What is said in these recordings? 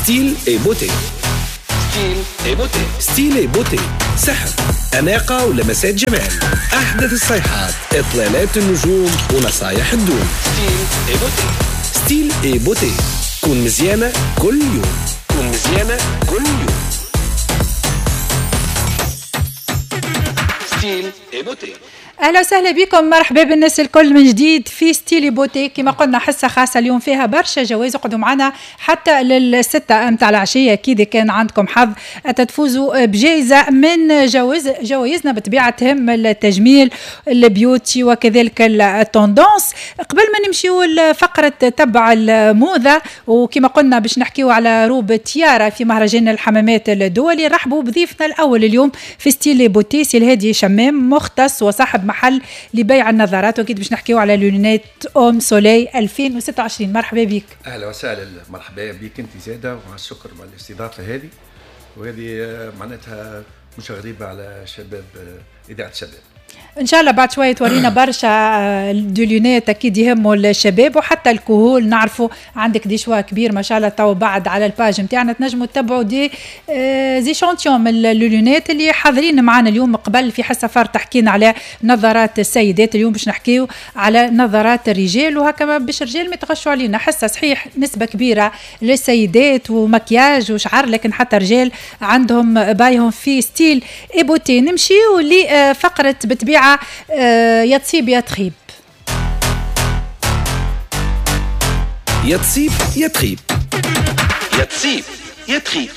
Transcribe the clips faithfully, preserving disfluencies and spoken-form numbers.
Style et beauté. Style et beauté. Style et beauté، سحر، أناقة ولمسات جمال، أحدث الصيحات، إطلالات النجوم ونصايح الدوم. Style et beauté. Style et beauté، كون مزيانة كل يوم، كون مزيانة كل يوم. Style et beauté. اهلا وسهلا بكم، مرحبا بالناس الكل من جديد في Style beauté. كما قلنا حصة خاصة اليوم فيها برشا جوائز، اقعدوا معنا حتى للستة متاع العشية. اكيد كان عندكم حظ تفوزوا بجائزة من جوائز جوائزنا بطبيعة تهم التجميل، ال beauty وكذلك ال tendance. قبل ما نمشيو لفقره تبع الموضة، وكما قلنا باش نحكيو على روب تيارا في مهرجان الحمامات الدولي، رحبوا بضيفنا الاول اليوم في Style beauté، سي الهادي شمام، مختص وصاحب محل لبيع النظارات، واكيد باش نحكيو على lunettes homme soleil ألفين وستة وعشرين. مرحبا بك. اهلا وسهلا، مرحبا بك انت زاده، ومع الشكر على الاستضافة هذه، وهذه معناتها مش غريبة على شباب اذاعة شباب. ان شاء الله بعد شوية تورينا برشا des lunettes اكيد يهموا الشباب وحتى الكهول. نعرفوا عندك des choix كبير ما شاء الله. تو بعد على ال page نتاعنا تنجموا تتبعوا des échantillons من les lunettes اللي حاضرين معنا اليوم. قبل في حصة فار تحكينا على نظارات السيدات، اليوم باش نحكيو على نظارات الرجال، وهكا باش الرجال ما يتغشوا علينا. حصة صحيح نسبه كبيرة للسيدات ومكياج وشعر، لكن حتى الرجال عندهم بايهم في Style et beauté. نمشيو لفقره بطبيعة يا تصيب يا تخيب. يا تصيب يا تخيب، يا تصيب يا تخيب،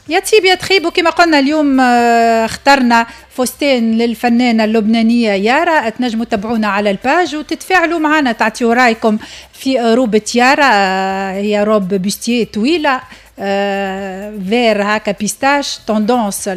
يا تصيب يا تخيب. وكما قلنا اليوم اخترنا فستان للفنانة اللبنانية يارا. تنجموا تتابعونا على ال page وتتفاعلوا معنا، تعطيوا رايكم في روبة يارا. هي robe bustier طويلة vert هكا pistache، tendance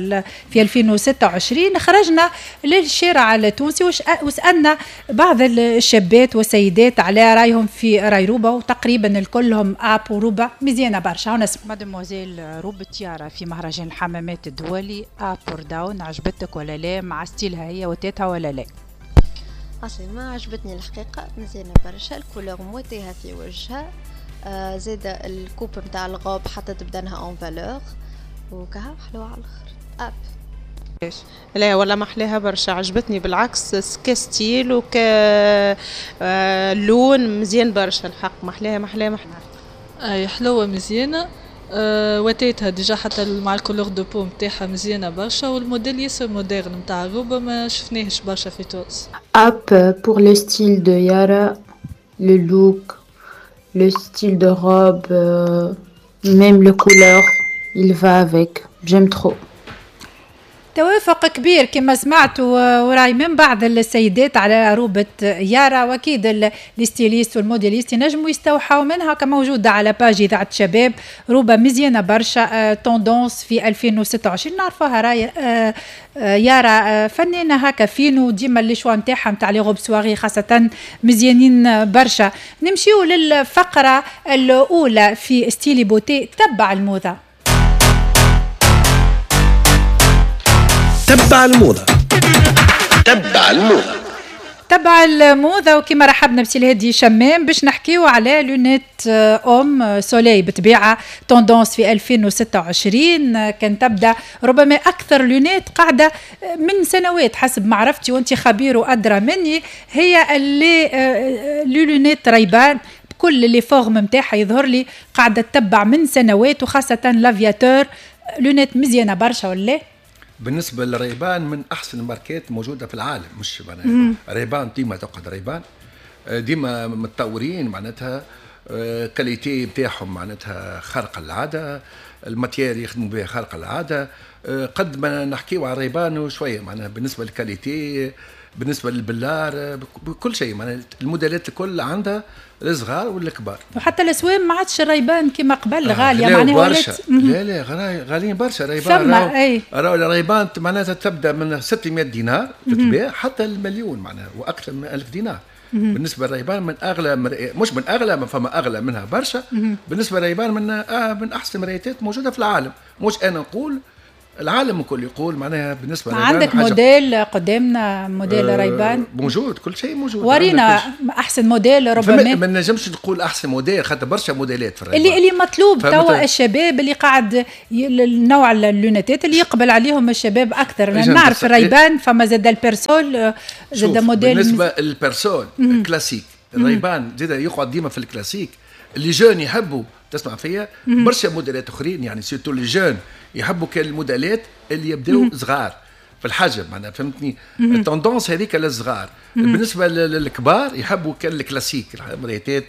في ألفين وستة وعشرين. خرجنا للشارع التونسي وسألنا بعض الشابات والسيدات على رايهم في راي روبة، وتقريبا الكلهم up وروبة مزيانة برشا. ونسمع mademoiselle، روبة يارا في مهرجان الحمامات الدولي up or down، عجبتك ولا لا؟ مع style ها هي وتاتها ولا لا؟ اصلا ما عجبتني الحقيقة، مزيانة برشا، ال couleur مواتيها في وجهها، آه زاد ال coupe نتاع الغوب حتى تبدنها en valeur، وكها حلوة على الاخر up. لا ولا ما احلاها برشا، عجبتني بالعكس، ك style وك آه لون مزيان برشا الحق، ما احلاها ما احلاها ما احلاها. اي حلوة مزيانه، أه وتيتها déjà حتى مع ال couleur de peau نتاعها مزيانه برشا، والموديل ياسر moderne نتاع الروبه ما شفناهش برشا في تونس. Up pour le style de Yara, le look, le style de robe, euh, même le couleur, il va avec. J'aime trop. توافق كبير كما سمعتوا وراي من بعض السيدات على روبة يارا، واكيد ال stylistes وال modélistes ينجموا يستوحوا منها، كموجودة على page إذاعة شباب. روبة مزيانة برشا، tendance في ألفين وستة وعشرين. نعرفوها راي يارا فنانة هكا فينو، ديما les choix نتاعها نتاع les robes soirée خاصة مزيانين برشا. نمشيو للفقرة الأولى في Style beauté، تبع الموضة. تبع الموضة، تبع الموضة، تبع الموضة. وكما رحبنا بسي الهادي شمام باش نحكيو على lunettes homme soleil، بطبيعة tendance في ألفين وستة وعشرين. كان تبدا ربما أكثر lunettes قاعدة من سنوات حسب معرفتي، وأنت خبير وأدرى مني، هي اللي les lunettes Ray-Ban بكل les formes نتاعها يظهر لي قاعدة تتبع من سنوات، وخاصة l'aviateur. lunettes مزيانة برشا ولا؟ بالنسبة لل Ray-Ban من احسن الماركات موجودة في العالم، مش معناها Ray-Ban ديما تقعد Ray-Ban، ديما متطورين معناتها، qualité نتاعهم معناتها خارقة للعادة، ال matière يخدموا بها خارقة للعادة. قد ما نحكيو على Ray-Ban شوية معناها بالنسبة لل qualité، بالنسبة للبلار، بكل شيء معناها الموديلات الكل عندها، الصغار والكبار. وحتى الاسوام ما عادش Ray-Ban كما قبل غالية، معناها ولات لا لا غاليين برشا Ray-Ban. فما اي راهو Ray-Ban معناتها تبدا من ستمية دينار تتباع حتى المليون معناها واكثر من ألف دينار. بالنسبة لل Ray-Ban من اغلى مرئي... مش من اغلى، ما فما اغلى منها برشا. بالنسبة لل Ray-Ban من آه من احسن المرايات موجودة في العالم، مش انا نقول، العالم الكل يقول معناها بالنسبة عندك موديل قدامنا، موديل آه ريبان موجود، كل شيء موجود. ورينا احسن موديل ربما. ما نجمش نقول احسن موديل خاطر برشا موديلات في الريبان اللي اللي مطلوب توا الشباب اللي قاعد النوع ال lunettes اللي يقبل عليهم الشباب اكثر. نعرف الريبان فما زاد ال Persol، زاد موديل. بالنسبة لل Persol classique، الريبان زاد يقعد ديما في ال classique. les jeunes يحبوا، تسمع فيا، برشا موديلات اخرين يعني surtout les jeunes يحبوا كان الموديلات اللي يبداو صغار في الحجم معناها فهمتني. ال tendance هذيك للصغار. بالنسبة للكبار يحبوا كان الكلاسيك المريتات.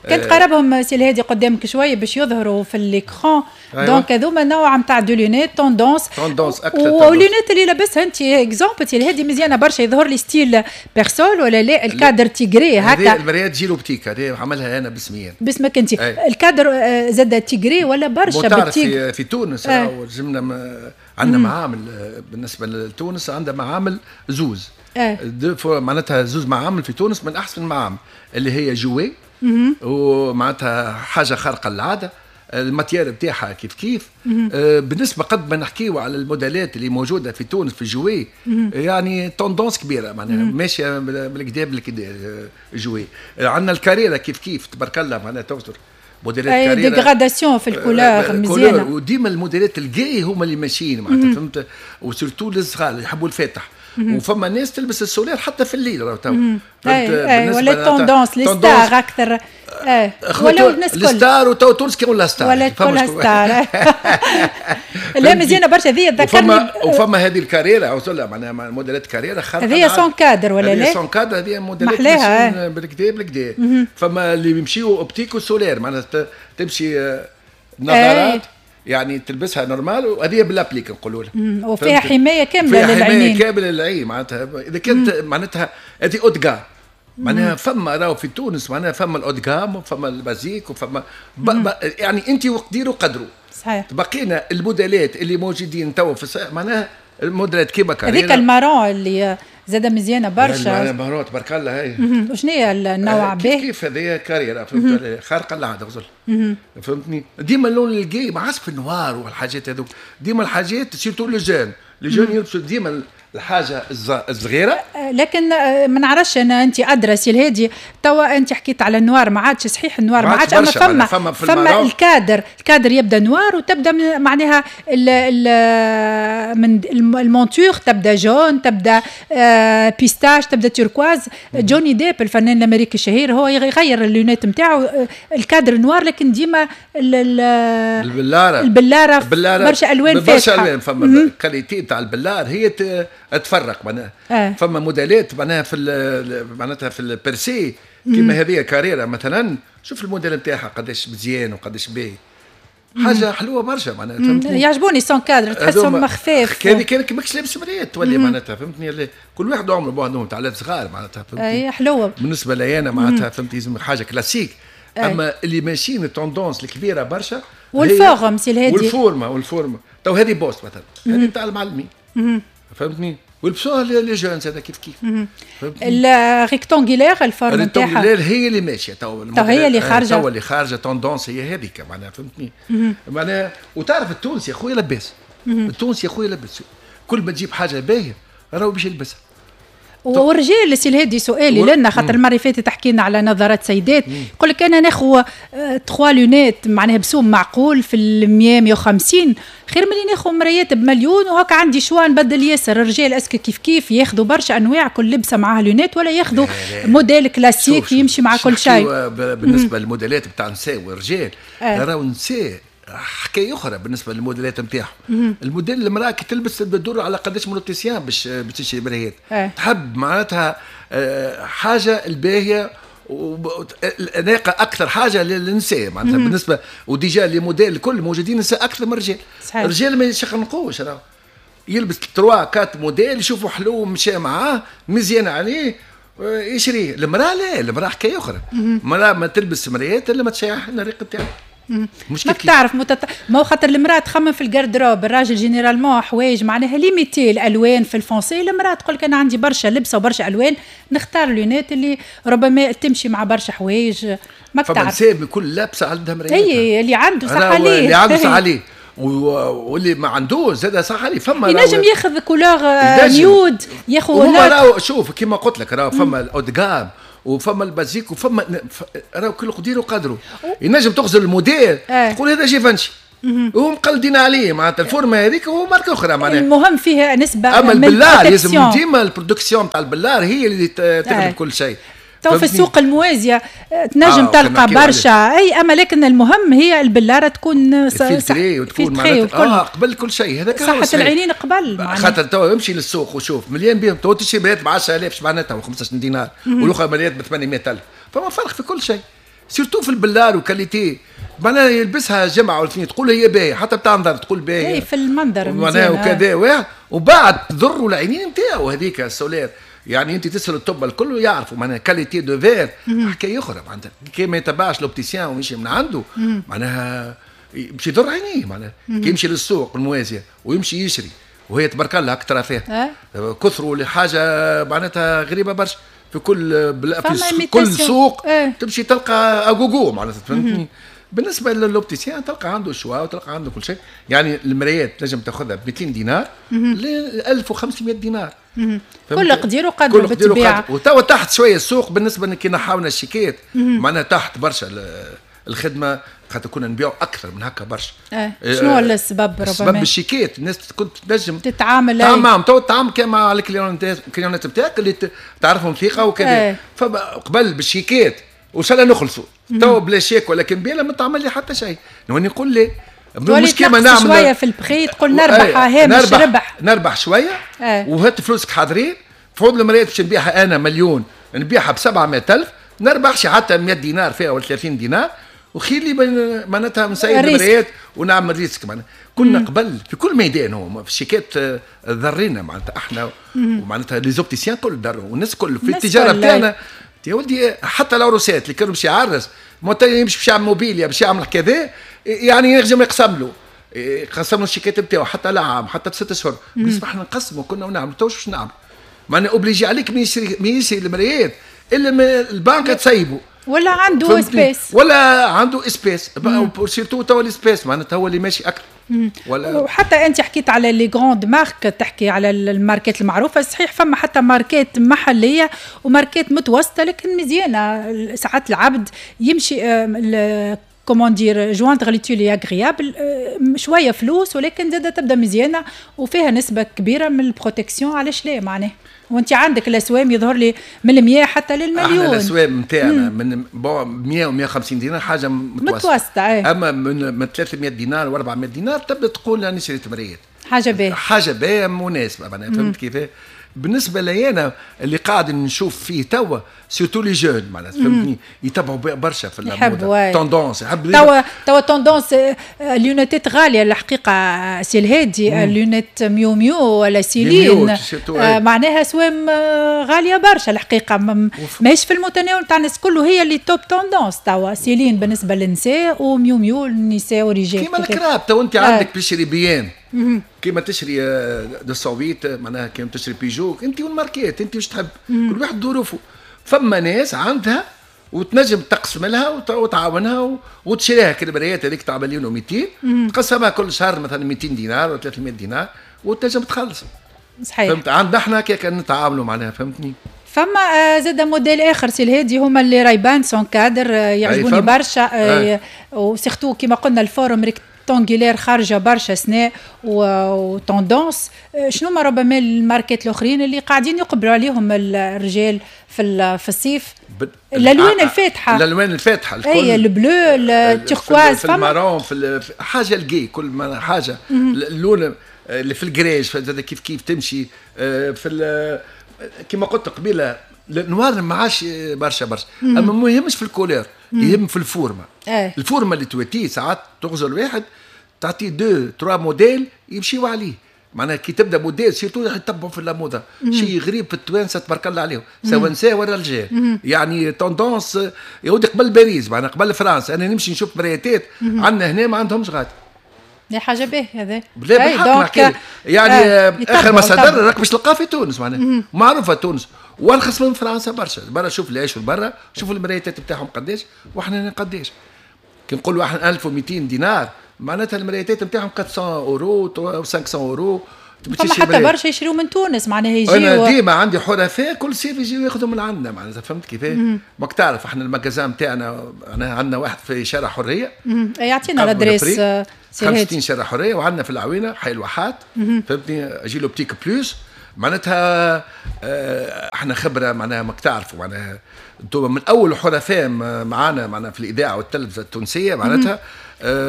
كنت قربهم سي الهادي قدامك شوية باش يظهروا في l'écran. donc هذوما نوع نتاع des lunettes tendance tendance اكثر. وال lunettes اللي لابسها انت exemple سي الهادي مزيانه برشا، يظهر لي style Persol ولا لا؟ ال cadre tigré هكا. المريات Gil Optique هذه عملها انا باسمي، باسمك انت. ال cadre زاد tigré ولا برشا بال tigre في, في تونس. آه. جبنا عندنا معامل بالنسبة لتونس، عندنا معامل زوز آه. معناتها زوز معامل في تونس من احسن المعامل اللي هي Joué، ومعناتها حاجة خارقة للعادة، ال matière بتاعها كيف كيف. آه بالنسبة قد ما نحكيو على الموديلات اللي موجودة في تونس في Joué، يعني tendance كبيرة معناها ماشية بالكدا بالكدا Joué. عندنا الكاريرا كيف كيف تبارك الله معناها تغزر موديلات كاريرا dégradation في ال couleur مزيانه. وديما الموديلات ال gais هما اللي ماشيين معناتها فهمت، و surtout للصغار اللي يحبوا الفاتح. وفما ناس تلبس ال solaire حتى في الليل راهو تو. اي ولا tendance les stars اكثر. ايه ولا الناس الكل stars، وتو تونس كي ولا star ولا كلها star. لا مزيانه برشا هذه ذكرني. وفما, وفما هذه الكاريرا وصلها معناها موديلات كاريرا خارقة. هذه sans cadre ولا لا؟ هذه sans cadre، هذه موديلات بالكدا بالكدا. فما اللي يمشيو optique و solaire معناها تمشي نظارات يعني تلبسها normal، وهذه بال applique نقولوا لها. وفيها حماية كاملة للعينين، فيها حماية كاملة للعين معناتها. اذا كانت معناتها هذه haut de gamme معناها فما راهو في تونس معناها فما ال haut de gamme وفما ال basique وفما يعني انت وقدير وقدره. صحيح. بقينا الموديلات اللي موجودين تو في معناها الموديلات كيما كاريرا هذيك ال marron اللي زاد مزيانه برشا. ال marron تبارك الله هاي. وشنو هي النوع به؟ كيف كيف هذه كاريرا فهمت، خارقة للعادة غزل فهمتني. ديما اللون ال gai ما عادش في ال noir والحاجات هذوك، ديما الحاجات surtout les jeunes les jeunes يلبسوا ديما الحاجة الصغيرة. لكن ما نعرفش انا، انت ادرى سي الهادي توا انت حكيت على ال noir ما عادش صحيح ال noir ما عادش، اما فما فما, فما ال cadre ال cadre يبدا noir وتبدا معناها ال ال من ال monture تبدا jaune، تبدا pistache، تبدا turquoise. جوني ديب الفنان الامريكي الشهير هو يغير ال lunettes نتاعو ال cadre noir، لكن ديما البلاره البلاره برشا الوان فاتحة، برشا الوان. فما ال qualité تاع البلار هي تفرق معناها. آه. فما موديلات معناها في معناتها في ال percé كيما هذه كاريرا مثلا، شوف الموديل نتاعها قداش مزيان وقداش باهي، حاجة حلوة برشا معناها فهمتني. يعجبوني sans cadre تحسهم خفاف. هذه كانك ماكش لابس مريات تولي معناتها فهمتني. كل واحد عمره بعضهم تاع صغار معناتها فهمتني. اي حلوة بالنسبة لي انا معناتها فهمتني لازم حاجة كلاسيك. أي. اما اللي ماشيين ال tendance الكبيرة برشا وال forme سي الهادي والفورمه والفورمه تو هذه بوست مثلا هذه نتاع المعلمين فهمتني، ولبسوها les jeunes هذا كيف كيف. ال rectangulaire ال forme نتاعها ال rectangulaire هي اللي ماشية تو، تو هي اللي خارجه، تو اللي خارجه tendance هي هذيك معناها فهمتني. معناها وتعرف التونسي يا خويا لباس، التونسي يا خويا لباس، كل ما تجيب حاجة باهيه راهو باش يلبسها. والرجال سي الهادي سؤالي لنا خاطر المرة اللي فاتت حكينا على نظارات سيدات، يقول لك انا ناخذ trois lunettes معناها بسوم معقول في ال مية مية وخمسين خير من اللي ناخذ مرايات بمليون وهكا عندي choix نبدل ياسر. الرجال est-ce que كيف كيف ياخذوا برشا انواع كل لبسه معاها lunettes ولا ياخذوا موديل كلاسيك يمشي مع كل شيء؟ بالنسبة للموديلات بتاع النساء والرجال راهو النساء حكاية اخرى بالنسبة للموديلات نتاعهم. الموديل المراة كي تلبس تدور على قداش من opticien باش باش تشري مرايات. أه. تحب معناتها حاجة الباهيه الاناقة اكثر حاجة للنساء معناتها بالنسبة. و déjà les modèles الكل موجودين نساء اكثر من الرجال. الرجال ما يشخنقوش، راه يلبس trois quatre modèles يشوفوا حلو مشى معاه مزيان عليه يشريه. المراة لا، المراة حكاية اخرى. المراة ما تلبس مرايات الا ما تشيح الريق نتاعها. مش ماك تعرف متت... ما هو خاطر المراة تخمم في ال garde-robe، الراجل généralement حوايج معناها limité الالوان في ال foncé، المراة تقول لك انا عندي برشا لبسه وبرشا الوان نختار lunettes اللي ربما تمشي مع برشا حوايج. ماك تعرف فما نساء بكل لابسه عندها مرايات. اي اللي عنده صح عليه، اللي عنده صح عليه. واللي ما عندوش زاد صح عليه، فما ينجم ياخذ couleur nude، ياخذ راهو شوف كيما قلت لك راهو فما ال haut de gamme وفما ال basique وفما راهو كل قدير وقدره. ينجم تغزر الموديل اه. تقول هذا Givenchy وهم مقلدين عليه معناتها ال forme هذيك هو ماركة اخرى معناها. المهم فيها نسبه. اما البلار لازم ديما ال production تاع البلار هي اللي تغلب كل شيء. تو في السوق الموازيه تنجم آه تلقى برشا اي، اما لكن المهم هي البلاره تكون filtrée وتكون معناتها اه قبل كل شيء. هذاك صحة العينين قبل. خاطر تو امشي للسوق وشوف مليان بيهم، تو تشري مرايات ب عشرة آلاف معناتها و خمسطاش دينار، والاخرى مرايات ب ثمانمية ألف، فما فرق في كل شيء surtout في البلار و qualité معناها يلبسها جمعه ولا اثنين تقول هي باهيه، حتى بتاع نظر تقول باهيه. اي في المنظر معناها وكذا واحد، وبعد تضروا العينين نتاعو هذيك ال solaire. يعني انت تسال الطب الكل يعرفوا معناها qualité de verre حكاية اخرى معناتها. كي ما يتبعش l'opticien ويمشي من عنده معناها باش يضر عينيه معناها. كي يمشي للسوق الموازيه ويمشي يشري وهي تبارك الله اكثر فيها كثروا لحاجة معناتها غريبة برشا في كل بلا في كل سوق اه. تمشي تلقى à gogo معناتها فهمتني. بالنسبة لل opticien تلقى عنده choix وتلقى عنده كل شيء. يعني المرايات تنجم تاخذها ب مئتين دينار ل ألف وخمسمية دينار. كل قدير وقدر بالطبيعة. وتوا تحت شوية السوق بالنسبة كي نحاولنا الشيكات معناها تحت برشا الخدمة، خاطر كنا نبيعوا اكثر من هكا برشا. اه. شنو هو السبب؟ ربما السبب الشيكات، الناس كنت تنجم تتعامل تعامل معهم، تو تتعامل كان مع ال clients نتاعك اللي تعرفهم ثقة وكذا. اه. فقبل بالشيكات وان شاء الله نخلصوا، تو بلا شيك ولا كمبياله ما تعمل لي حتى شيء. نولي نقول لي مش كيما نعمل شوية في البخي تقول نربح هامش ربح، نربح شوية اه. وهات فلوسك حاضرين فوض المرايات باش نبيعها انا مليون نبيعها ب سبعمية ألف، نربحش حتى مية دينار فيها ولا ثلاثين دينار، وخير لي معناتها نسيب المرايات ونعمل risque معناتها. كنا قبل في كل ميدان هو في الشيكات ضرينا معناتها احنا ومعناتها les opticiens كل ضروا والناس كل في التجارة بتاعنا يا ولدي. حتى العروسات اللي كانوا باش يعرس يمشي باش يعمل موبيليا باش يعمل كذا يعني ينجم يقسم له يقسم له الشيكات نتاعو حتى لعام حتى بست اشهر. بالنسبة احنا نقسموا كنا ونعملوا تو باش نعمل معناها obligé عليك من يشري من يشري المرايات الا من البنك تسيبه ولا عنده espèces ولا عنده espèces surtout توا ال espèces معناتها هو اللي ماشي اكثر. ولا وحتى انت حكيت على les grandes marques، تحكي على الماركات المعروفة، صحيح فما حتى ماركات محليه وماركات متوسطه لكن مزيانه. ساعات العبد يمشي comment dire joindre l'utile à l'agréable، شوية فلوس ولكن زاده تبدا مزيانه وفيها نسبه كبيرة من ال protection، علاش لا معناه. وانت عندك الاسوام يظهر لي من المية حتى للمليون. احنا الاسوام نتاعنا من bon مية و مية وخمسين دينار حاجة متوسطه، متوسطه ايه. اما من من ثلاثمية دينار و أربعمية دينار تبدا تقول انا شريت مرايات حاجة باهيه، حاجة باهيه مناسبة معناها فهمت كيف. بالنسبة لي انا اللي قاعد نشوف فيه توا surtout les jeunes معناتها فهمتني يتبعوا برشا في الموضة tendance. يحب توا توا tendance lunettes غالية الحقيقة سي الهادي، lunettes Miu Miu ولا سيلين آه معناها سوام غالية برشا الحقيقة، ماهيش في المتناول تاع الناس كله. هي اللي top tendance توا سيلين بالنسبة للنساء و Miu Miu للنساء والرجال. كيما الكراهب تو انت عندك تشري BM كيما تشري deux cent huit معناها كيما تشري بيجو، انت والماركات انت واش تحب، كل واحد ظروفه. فما ناس عندها وتنجم تقسم لها وتعاونها وتشريها كالمرايات هذيك تاع مليون ومئتين تقسمها كل شهر مثلا مئتين دينار ولا ثلاثمية دينار وتنجم تخلص. صحيح فهمت. عندنا احنا كي نتعاملوا معناها فهمتني. فما زاد موديل اخر سي الهادي هما les Ray-Ban sans cadre يعجبوني برشا، و surtout كيما قلنا ال forme rectangulaire خارجه برشا سنة و tendance. شنو ما ربما الماركات الاخرين اللي قاعدين يقبلوا عليهم الرجال في في الصيف؟ الالوان الفاتحة، الالوان الفاتحة الكل اي ال bleu ال turquoise في ال marron في حاجة ال gai كل ما حاجة اللون اللي في الجريج كيف كيف تمشي في كما قلت قبيلة ال noir ما عادش برشا برشا، اما ما يهمش في ال couleur، يهم في ال forme. اه. ال forme اللي تواتيه ساعات تغزر واحد تعطيه deux trois modèles يمشيو عليه معناها. كي تبدا modèle surtout يتبعوا في الموضة شيء غريب في التوانسة تبارك الله عليهم سواء نساء ولا رجال، يعني tendance يا ودي قبل باريس معناها قبل فرنسا. انا نمشي نشوف مريتات عندنا هنا ما عندهمش غادي. لا حاجة باهيه هذا. لا بالحق يعني آه اخر ما صدر راك باش تلقاه في تونس معناها معروفة تونس وارخص من فرنسا برشا. برا شوف اللي يعيشوا برا شوفوا المرايات بتاعهم قداش وحنا قداش. كي نقولوا احنا ألف ومئتين دينار معناتها المرايات نتاعهم أربعمية اورو و خمسمية اورو. فما حتى برشا يشريوا من تونس معناها يجيو. انا ديما عندي حرفاء كل صيف يجيو ياخذوا من عندنا معناتها، فهمت كيفاه؟ ماك تعرف احنا ال magasin نتاعنا عندنا واحد في شارع حرية. يعطينا l'adresse خمسين شارع حرية، وعندنا في العوينة حي الواحات، فهمتني؟ Agile Optique Plus معناتها. احنا خبره معناها ماك تعرفوا معناها انتم من اول حرفاء معانا معناها في الاذاعة والتلفزه التونسية معناتها.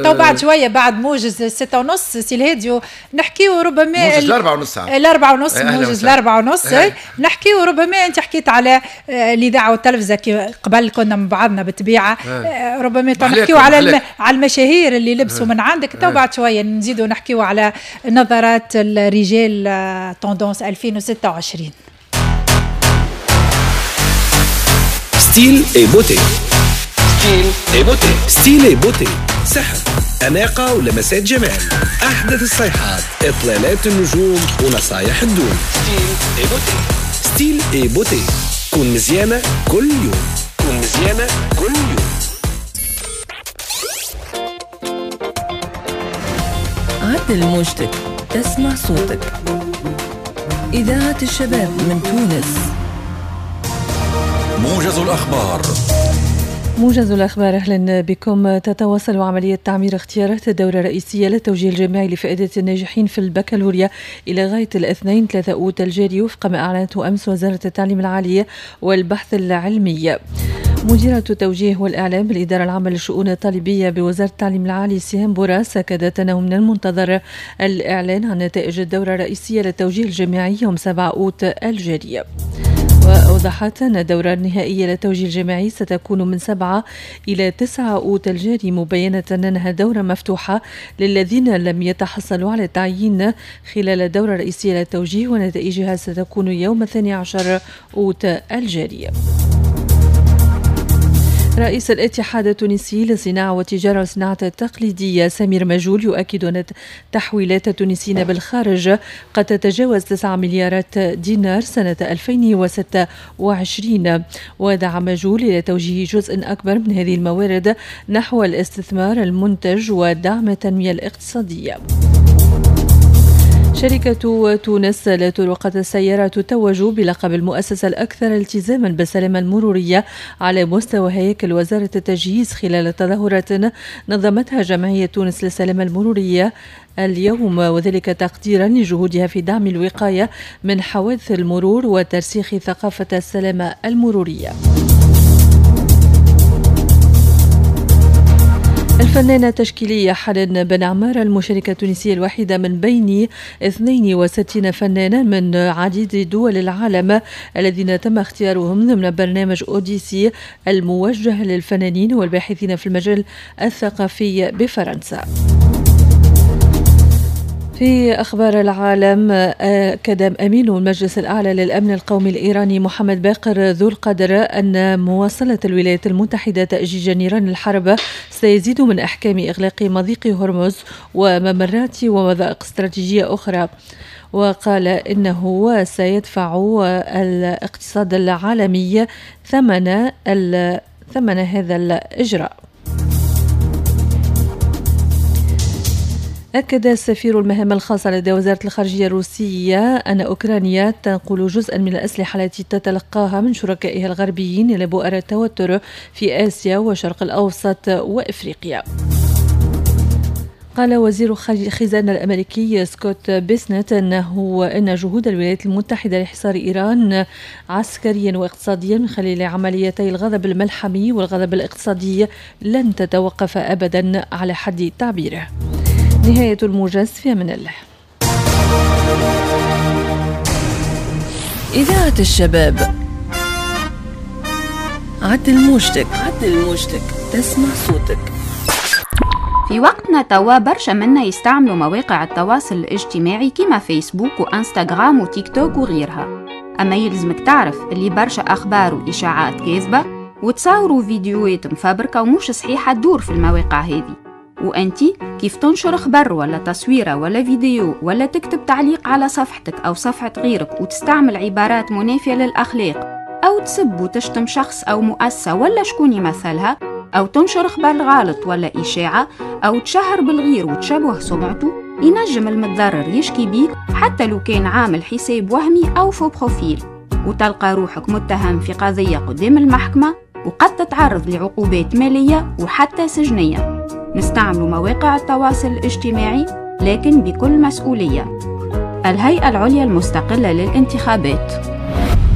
تو بعد شوية بعد موجز ستة ونص سي الهادي نحكيو ربما موجز الأربعة ونص الأربعة ونص موجز الأربعة ونص نحكيو ربما. أنت حكيت على الإذاعة والتلفزة قبل كنا مع بعضنا بالطبيعة، ربما نحكيو على على المشاهير اللي لبسوا من عندك. تو بعد شوية نزيدوا نحكيو على نظرات الرجال tendance ألفين وستة وعشرين. style et beauté، style et beauté، style et beauté، سحر، أناقة ولمسات جمال، أحدث الصيحات، إطلالات النجوم ونصايح الدون. style et beauté، style et beauté، كون مزيانة كل يوم، كون مزيانة كل يوم. عدل موجتك تسمع صوتك. إذاعة الشباب من تونس. موجز الأخبار. موجز الأخبار، أهلا بكم. تتواصل عملية تعمير اختيارات الدورة الرئيسية للتوجيه الجامعي لفائدة الناجحين في البكالوريا إلى غاية الاثنين ثلاثة أوت الجاري وفق ما أعلنته أمس وزارة التعليم العالي والبحث العلمي. مديرة التوجيه والإعلام بالإدارة العامة للشؤون الطالبية بوزارة التعليم العالي سهام بوراس أكدت أنه من المنتظر الإعلان عن نتائج الدورة الرئيسية للتوجيه الجامعي يوم سبعة أوت الجاري. وأوضحت أن الدورة النهائية للتوجيه الجامعي ستكون من سبعة إلى تسعة أوت الجاري، مبينة أنها دورة مفتوحة للذين لم يتحصلوا على التعيين خلال الدورة الرئيسية للتوجيه، ونتائجها ستكون يوم الثاني عشر أوت الجاري. رئيس الاتحاد التونسي للصناعة والتجارة والصناعة التقليدية سمير مجول يؤكد أن تحويلات التونسيين بالخارج قد تتجاوز تسعة مليارات دينار سنة ألفين وستة وعشرين. ودعا مجول إلى توجيه جزء أكبر من هذه الموارد نحو الاستثمار المنتج ودعم التنمية الاقتصادية. شركة تونس لطرقات السيارة تتوج بلقب المؤسسة الأكثر التزاما بالسلامة المرورية على مستوى هياكل وزارة التجهيز خلال تظاهرات نظمتها جمعية تونس للسلامة المرورية اليوم، وذلك تقديرا لجهودها في دعم الوقاية من حوادث المرور وترسيخ ثقافة السلامة المرورية. الفنانة التشكيلية حنان بن عمارة المشاركة التونسية الوحيدة من بين اثنين وستين فنانا من عديد دول العالم الذين تم اختيارهم ضمن برنامج أوديسي الموجه للفنانين والباحثين في المجال الثقافي بفرنسا. في أخبار العالم، أكد أمين المجلس الأعلى للأمن القومي الإيراني محمد باقر ذو القدر أن مواصلة الولايات المتحدة تأجيج نيران الحرب سيزيد من أحكام إغلاق مضيق هرمز وممرات ومضائق استراتيجية أخرى. وقال إنه سيدفع الاقتصاد العالمي ثمن ثمن هذا الإجراء. أكد السفير المهام الخاصة لدى وزارة الخارجية الروسية أن أوكرانيا تنقل جزءا من الأسلحة التي تتلقاها من شركائها الغربيين إلى بؤر التوتر في آسيا والشرق الأوسط وإفريقيا. قال وزير الخزانة الأمريكي سكوت بيسنت أنه أن جهود الولايات المتحدة لحصار إيران عسكريا واقتصاديا من خلال عمليتي الغضب الملحمي والغضب الاقتصادي لن تتوقف أبدا على حد تعبيره. نهاية الموجز، في أمان الله. إذاعة الشباب، عدل موجتك، عدل موجتك، تسمع صوتك. في وقتنا توا برشا منا يستعملوا مواقع التواصل الاجتماعي كما فيسبوك وانستغرام وتيك توك وغيرها. أما يلزمك تعرف اللي برشا أخبار وإشاعات كاذبة وتصاوروا فيديوهات مفبركة ومش صحيحة تدور في المواقع هذه. وأنتي كيف تنشر خبر ولا تصويرة ولا فيديو ولا تكتب تعليق على صفحتك أو صفحة غيرك وتستعمل عبارات منافية للأخلاق أو تسب وتشتم شخص أو مؤسسة ولا شكون يمثلها، أو تنشر خبر غلط ولا إشاعة أو تشهر بالغير وتشوه سمعته، ينجم المتضرر يشكي بيك حتى لو كان عامل حساب وهمي أو faux profil، وتلقى روحك متهم في قضية قدام المحكمة، وقد تتعرض لعقوبات مالية وحتى سجنية. نستعمل مواقع التواصل الاجتماعي لكن بكل مسؤولية. الهيئة العليا المستقلة للانتخابات.